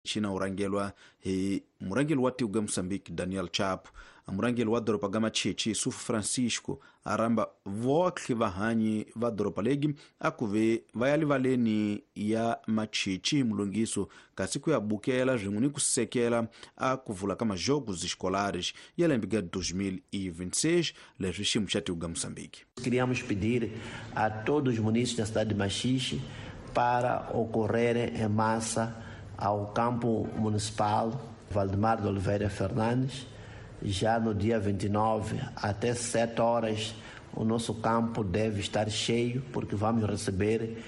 Xina u rhangelwa hi murhangeri wa tiko ga Moçambique Daniel Chapo. A murhangeri wa doroba ga Machichi Sufu Francisco a rhamba votlhe vahanyi va doroba legi a ku ve va ya livaleni ya Machichi hi mulungiso kasi ku ya bukela swin'we ni ku sekela a ku vula ka majogos escolares ya lembe ga 2026 leswi xiyimo xa tiko ga Moçambique. Queríamos pedir a todos os munícipes da cidade de Machixe para ocorrerem em massa ao campo municipal Valdemar de Oliveira Fernandes, já no dia 29, até 7 horas, o nosso campo deve estar cheio, porque vamos receber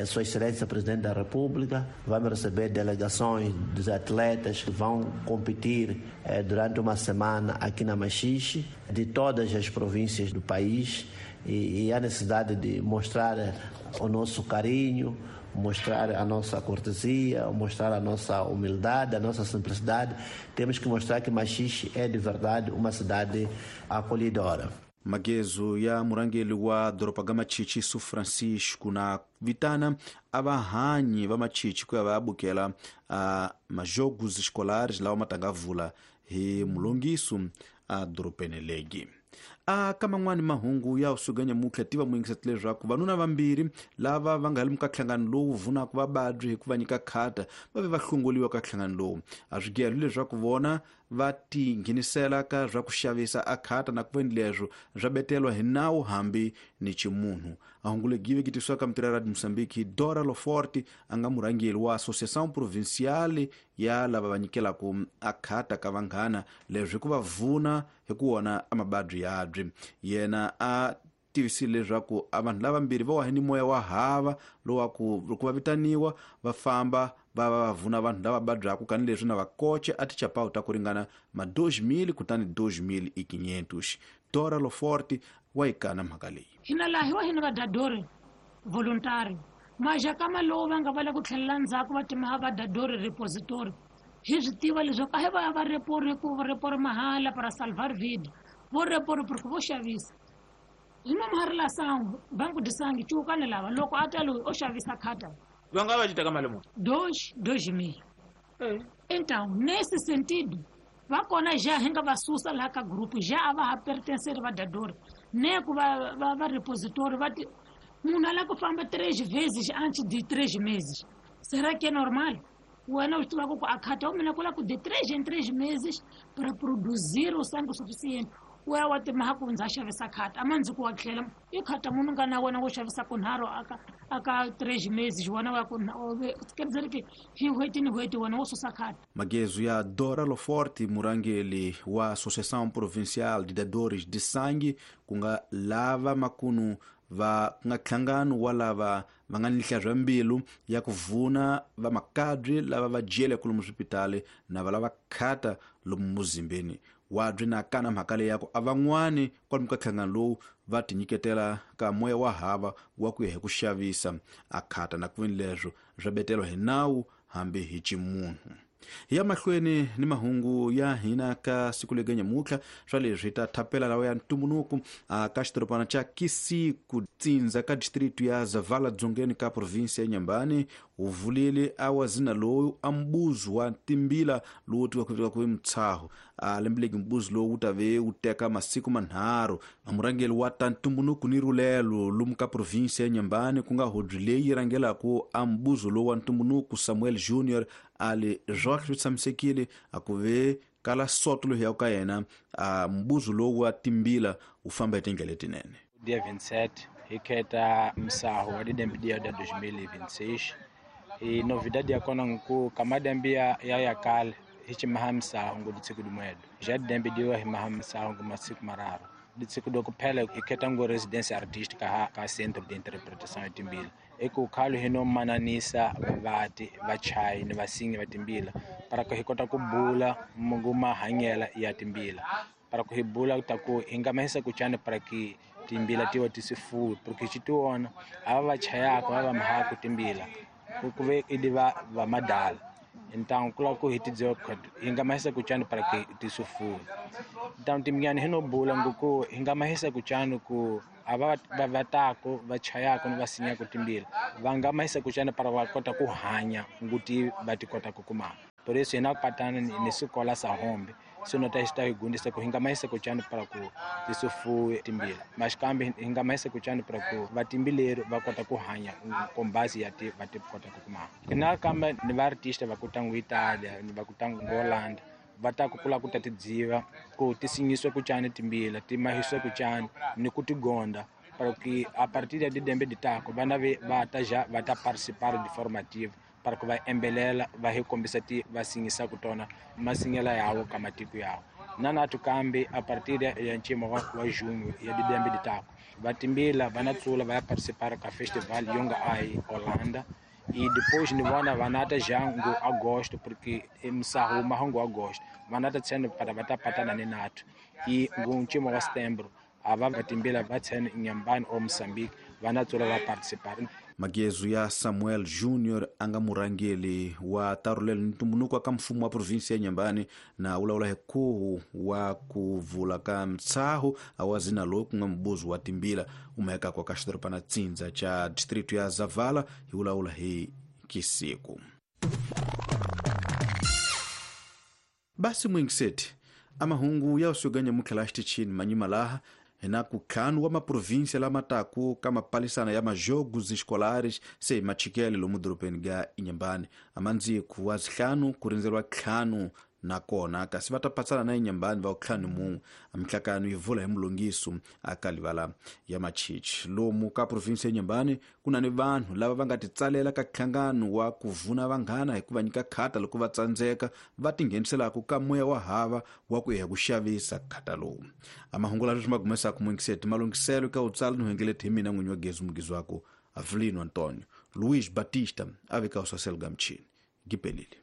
Sua Excelência Presidente da República, vamos receber delegações dos atletas que vão competir durante uma semana aqui na Machixe, de todas as províncias do país, e há necessidade de mostrar o nosso carinho, mostrar a nossa cortesia, mostrar a nossa humildade, a nossa simplicidade. Temos que mostrar que Machixe é de verdade uma cidade acolhedora. Magezo ya murhangeri wa doroba ga Machichi Su Francisco na vitana a vahanyi va Machichi ku ya va ya bukela a majogos escolares lawa ma ta nga vula hi mulongiso a dorobeni legi. A ka man'wani mahungu ya usuka nyamutlha tiva muyingiseti leswaku vanuna vambirhi lava va nga le ka nhlangano lowu vunaka vababyi hi ku va nyika khata va ve va hlongoliwa ka nhlangano lowu. A swi gelo leswaku vona va tinghenisela ka swa ku xavisa a khata na ku veni leswo swa betelwa hi nawu hambi ni ximunhu. A hungu legi yi veketisiwa ka mitirho ya Radio Moçambique hi Dora Loforte a nga murhangeri wa Associação Provincial ya lava va nyikelaka a khata ka vanghana leswi hi ku va vuna hi ku wona a mababyi yabyi. Yena a tivisile leswaku a vanhu lavambirhi va wahe ni moya wa hava lowa ku loko va vitaniwa va famba va va va vuna vanhu lava vabyaka kani leswi na va koche a tichapawu ta ku ringana ma 2000 kutani 2500. Dora Loforte wa yi kana mhaka leyi. Hina laha hi wa hina vadadori voluntary majakama lowu va nga va la ku tlhelela ndzhaku va timaha vadadori repository hi swi tiva leswaku a hi va ya va repori ku repori mahala para salvar vida vo repori porque vo xavisa hi nomu la sangu banku de sangue cuukani lava loko a ta loyi o xavisa khata va nga va ci teka mali muni 2000. Então nesse sentido va kona já hi nga va susa laha ka group já a va ha pertencer vadadori ne ku va va va repositori va ti munhu a lava ku famba 3 vezes antes de 3 meses. Será que é normal? Wena u swi tivaka ku a khata wa mina ku lava ku de 3 em 3 meses para produzir o sangue suficiente. U ya wa timaha ku ndza xavisa khata a ma ndzi ku wa tlhela i khata munhu nga na wena wo xavisa kunharhu aka 3 meses wena wa ku quer dizer que hi n'hweti ni n'hweti wena wo susa khata. Magezo ya Dora Loforte murhangeri wa Associação Provincial de Dadores de Sangue ku nga lava makunu va ku nga nhlangano wa lava va nga ni nhlahla mbilu ya ku vuna va makabyi lava va jele lomu swipitali na va lava khata lomu muzimbeni wabyi na kana mhaka leyi ya ku a van'wani kwalomu ka nhlangano lowu va tinyiketela ka moya wa hava wa ku ya hi ku xavisa a khata na ku veni leswo swa betelwa hi nawu hambi hi ximunhu. Hi ya mahlweni ni mahungu ya hina ka siku lega nyamutlha swa leswi ta thapela lawa ya ntumbuluko ka xidorobana xa Kisiku tsindza ka district ya Zavala dzongeni ka province ya Nyambani u vulile a wazina lowu a mbuzu wa timbila lowu tiwaka ku mtshaho a lembeleki mbuzu lowu wu ta ve wu teka masiku manharhu. A murhangeri wa ta ntumbuluko ni rulelo lomu ka province ya Nyambani ku nga hodzi leyi rhangelaka a mbuzu lowu wa ntumbuluko Samuel Junior ali zwohle swi tshamisekile a ku ve kala soto loyi ya ka yena a mbuzu lowu wa timbila wu famba hi tindlela letinene. Dia 27 hi kheta msaho wa didembidia da 2026 e novidade ya kona nku kamadambi ya ya kale hi chimaha msaho ngu ditsiku dimwedo já didembidiwa hi maha msaho ngu masiku mararu ditsiku do kuphela hi kheta ngu residência artística ka centro de interpretação ya timbila eku khalo hi no mananisa vati vachayi ni vasingi va timbila para ku hi kota ku bula mungu mahanyela ya timbila para ku hi bula ta ku hi nga mahisa ku chani para ki timbila tiwa tisifuwi porque xitiwona ava va chayaka va va mahaku timbila ku ve idi va va madala então kula ku hi tidziwa hi nga mahisa ku chani para ki tisifuwi então timnyani hi no bula nguku hi nga mahisa ku chani ku ava va vatako va chayaka ni va sinyaka timbila va nga mahisa ku chani para va kota ku hanya nguti va ti kota ku kuma. Por isso hina patana ni xikola sa hombe sino ta xita hi gundisa ku hi nga mahisa ku chani para ku tisufuwe timbila mas kambe hi nga mahisa ku chani para ku vatimbileri va kota ku hanya kombasi ya ti va ti kota ku kuma na kambe ni va artista va ku tangu Italia ni va ku tangu Holland va ta ku kula ku ta tidziva ku ti sinyiswe ku chani timbila ti mahiswe ku chani ni ku tigonda para que a partir de dembe de tako vana va ta já va ta participar de forma ativa para que va embelela va hi kombisa ti va sinyisa ku tona masinyela yawo ka matiko yawo na nathu kambe a partir ya ncimo wa junho ya didembe de tako va timbila va na tsula va ya participar ka festival yonga ai Holanda e depois ni vona vanata já ngo agosto porque msahu mahango agosto vanata tsene para va ta patana ni nathu e ngo ncimo wa setembro ava va timbila va tsene Inhambane ou Moçambique va na tsula va participar. Magezu ya Samuel Junior a nga murhangeri wa tarulelo ni ntumbuluko ka mfumo wa provinsi ya Inhambane na wulawula hi khuhu wa ku vula ka mtshaho wa zina lowu ku nga mubuzi wa timbila umahekako ka xidorobana tsindza cha distrito ya Zavala hi wulawula hi kisiku. Basi mwingiseti amahungu ya usuganya mukhela xitichini manyima laha hina ku ntlhanu wa maprovinsia lama taku ka mapalisana ya majogos escolares se machikele lomu dorobeni ga Inhambane amandziku wa zihlanu ku rindzeriwa ntlhanu nakona kasi va ta patsana na Inhambane va ntlhanu mun'we mihlakano yi vula hi mulongiso aka livala ya machichi lomu ka provinsi ya Inhambane ku na ni vanhu lava va nga titsalela ka nhlangano wa ku vuna vanghana hi ku va nyika khata loko va tsandzeka va tingheniselaka ka moya wa hava wa ku ya ku xavisa khata lowu amahungu lawa leswi ma gumesaka muingiseti malunghiselo ka utsala ni huengeleti hi mina n'winyi wa gezi mugizi wako Avelino Antonio Luiz Batista a veka usaselo ga mchini gipelile.